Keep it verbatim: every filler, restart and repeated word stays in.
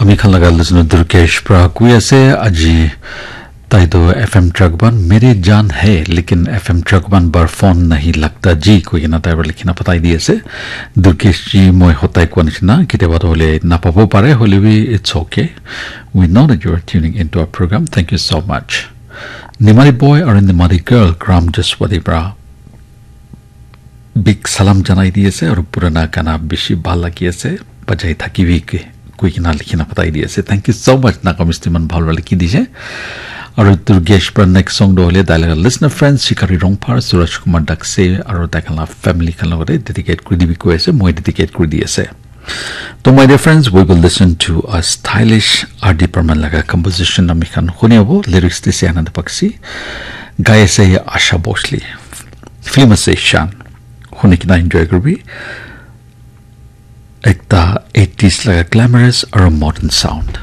Ami khan laga listener Durgesh pra koi ase, aji tai to F M Truck Band mere jaan hai, lekin F M Truck Band bar phone nahi lagta ji koi kena tai pra likhina patai di ase. Durgesh ji, moi hotai koa nishina, ketiaba to hole napabo pare, hole bi it's okay. We know that you are tuning into our program. Thank you so much. Nimari boy aru Nimari girl, Gram Jaswati pra big salam janai di ase aru purana gana bishi bhal lagi ase, bajai thakibi ke koi kena likhina patai di ase. Thank you so much, Naga Misti man bhal para likhi dise. Aru Durgesh pra next song do hole tai laga listener friends Shikari Rongphar, Suraj Kumar Dakse aru tai khan la family khan logote dedicate kuri dibi koi ase, moi dedicate kuri di ase. To my dear friends, we will listen to a stylish R D Burman laga composition, ami khan huni abo, lyrics dise Ananda Bakshi, gai ase Asha Bhosle, film ase Shan. Huni kena enjoy kuribi. Ekta eighties laga glamorous aru modern sound.